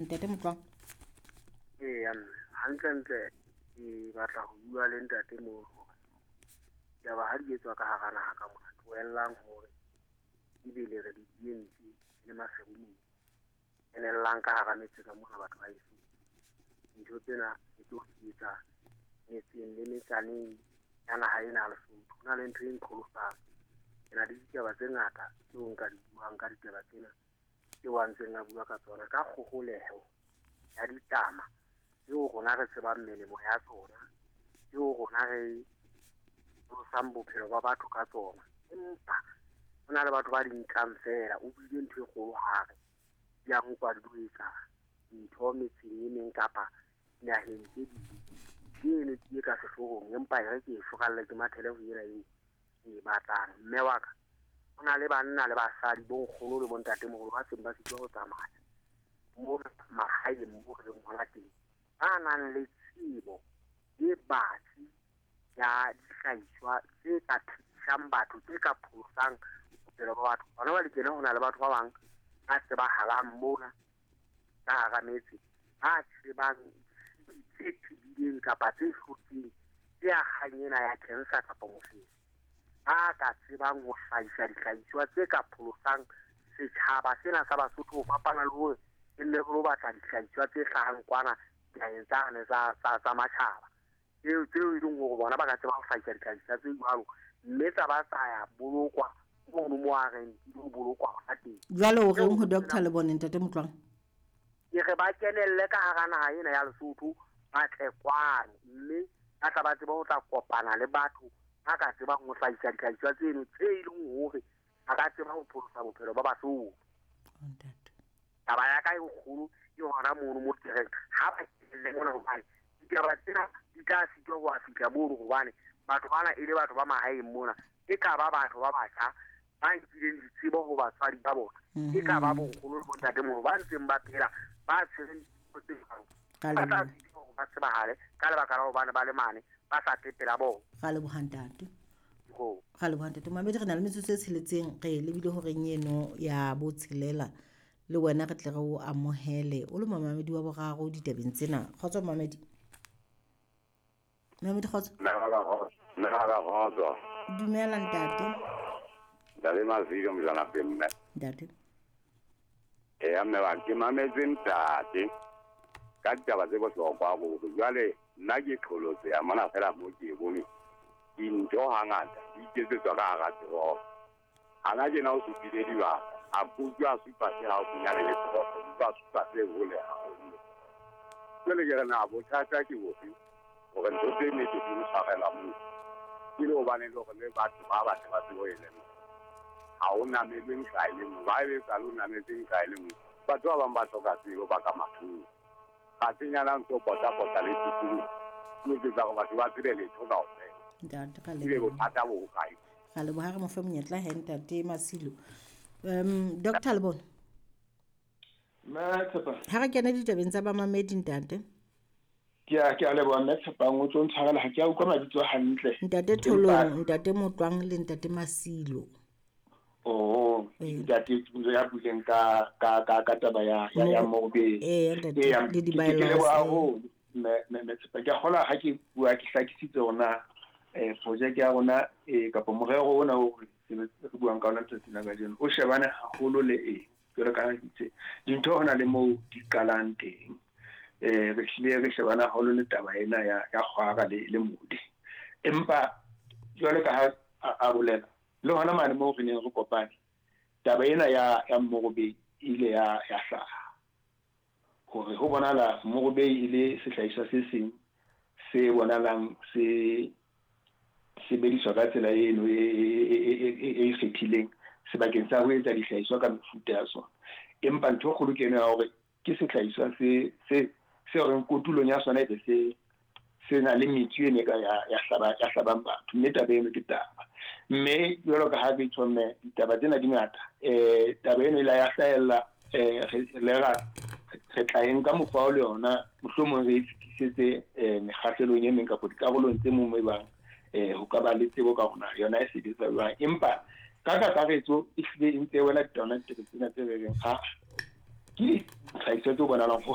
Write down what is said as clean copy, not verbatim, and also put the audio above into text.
Ntate Motlwang. Eya mme, hantlentle ke batla ho bua le ntate moo hore ditaba ha di etswa ka hara naha ka mona, tlohellang hore ebe le re di entse le maseru, kenellang ka hara metse ka mona batho ba heso. Dintho tsena le tlo di etsa metseng le metsaneng ya naha ena ya Lesotho. Ho na le ntho e nqholosang. Ke na le ditaba tse ngata tseo nka di buang ka ditaba tsena tseo a ntseng a bua ka tsona, ka kgoholeho ya ditama tseo rona re tsebang melemo ya tsona, tseo rona re pholosang bophelo ba batho ka tsona. Empa ho na le batho ba di nkang feela. O buile ntho e kgolo hare di a nkwa di lo etsa dintho metseng e meng kapa dinaheng tse ding. Ke eno tsie ka sehloohong, empa e re ke e furalle ke mathele ho ena eo ke e batlang. Mme wa ka, ho na le banna le basadi, bo nkgono le bo ntatemoholo ba seng ba sitwa ho tsamaya mona mahaeng moo re leng hona teng, ba nang le tsebo e batsi ya dihlahiswa tse ka phedisang batho, tse ka pholosang bophelo ba batho. Hona jwale tjena ho na le batho ba bang ba tsebahalang mona ka hara metse, ba tsebang tse tebileng kapa tse hlotseng tse akgang ena ya cancer kapa mofetshe, ba ka tsebang ho hlahisa dihlahiswa tse ka pholosang setjhaba sena sa Basotho, ho fapana le hore e nne re lo batla dihlahiswa tse hlahang kwana dinaheng tsane tsa matjhaba, tseo e leng hore bona ba ka tseba ho hlahisa dihlahiswa tse jwalo, mme tsa ba tsa ya bolokwa mono mo a reng di lo bolokwa hona teng. Jwale o reng ho Dr. Lebone, Ntate Motlwang? Ke re ba kenelle ka hara naha ena ya Lesotho, ba tle kwano, mme ba tla ba tsebe ho tla kopana le batho ba ka tsebang ho hlahisa dihlahiswa tseno tse e leng hore ba ka tseba ho pholosa bophelo ba Basotho. Taba ya ka e kgolo ke hona mono mo ke reng ha ba kenelle mona, hobane ditaba tsena di tla sitwa ho fihla mono, hobane batho bana e le batho ba mahaeng mona, e ka ba batho ba batjha ba nkileng ditsebo ho batswadi ba bona, e ka ba bonkgono le bontatemoholo ba ntseng ba phela ba tshwereng dithuto tse jwalo, ba tla sitwa hore ba tsebahale ka lebaka la hobane ba le mane ba sa tle pela bona. Ra leboha ntate. Ra leboha ntate. Mamedi, re na le metsotso e tsheletseng, re lebile horeng eno ya botshelela, le wena re tle re o amohele o le momamedi wa boraro ditabeng tsena. Kgotso momamedi. Momamedi, kgotso. Kgotso. Dumela ntate. Ntate Masilo Mojana mme. Ntate. Eya mme wa ke mametse ntate ka ditaba tse bohlokwa haholo. Jwale nna ke qholotse ya mona fela mo ke bone dintho hangata di iketsetswa ka hara toropo. Hana tjena o supile dibaka, a kutlwa a supa se haufinyane le toropo, utlwa a supa se hole haholo. Jwale ke re na bothata ke bofe hore ntho tse nnete di o tshwarela moo? Ke le hobane le hore le batho ba batle ba tsebe ho e lemoha. Ha o namelwe nqa e le nngwe, ba ebe sa le o nametse nqa e le nngwe. Batho ba bang ba hloka tsebo ba ka mathoko. Kgasenyana ntso pota-pota le tikoloho, o etsetsa hore batho ba tsebe letho kaofela. Ntate, ra Ebe leboha. bothata bo hokae? Ra leboha, re mo fe monyetla he ntate Masilo. Dr. Lebone. Mme Tshepa. Ha re kene ditabeng tsa bamamedi ntate. Ke a leboha mme Tshepang, o tlo ntshwarela ha ke a utlwa mabitso hantle. Ntate Tholong, ntate Motlwang le ntate Masilo. Oh, ntate ya buileng ka taba ya Mobe. Ntate le di-bylaws. Ke leboha haholo mme Tshepa. Ke a kgolwa ha ke bua ke hlakisitse hore project ya rona kapa morero ona o re buang ka ona letsatsing la kajeno o shebane haholo le eng. Jwalo ka ha ke itse, dintho ho na le moo di qalang teng. Re hlile re shebana haholo le taba ena ya kgwara le modi. Empa jwalo ka ha a bolela le hona mane moo re neng re kopane, taba ena ya Morobei ile ya hlaha hore ho bonahala Morobei e le sehlahiswa se seng se bonahalang se sebediswa ka tsela eno e ikgethileng sebakeng sa ho etsa dihlahiswa ka mefuta ya sona. Empa ntho e kgolo ke eno ya hore ke sehlahiswa se reng kotulong ya sona ebe se na le metsu ene ka ya hlabang batho, mme taba eno ke taba. Mme jwalo ka ha ke tjho mme ditaba tsena di ngata, taba eno e la ya hlahella, re tla e nka mokgwa o le yona, mohlomong re e fetisetse mekgahlelong e meng kapa dikarolong tse mong e bang ho ka ba le tsebo ka rona yona e sebetsa jwang. Empa ka kakaretso e hlile e ntse e wela tsona ditaba tsena tse re reng ha ke dihlahiswa tse bonahalang ho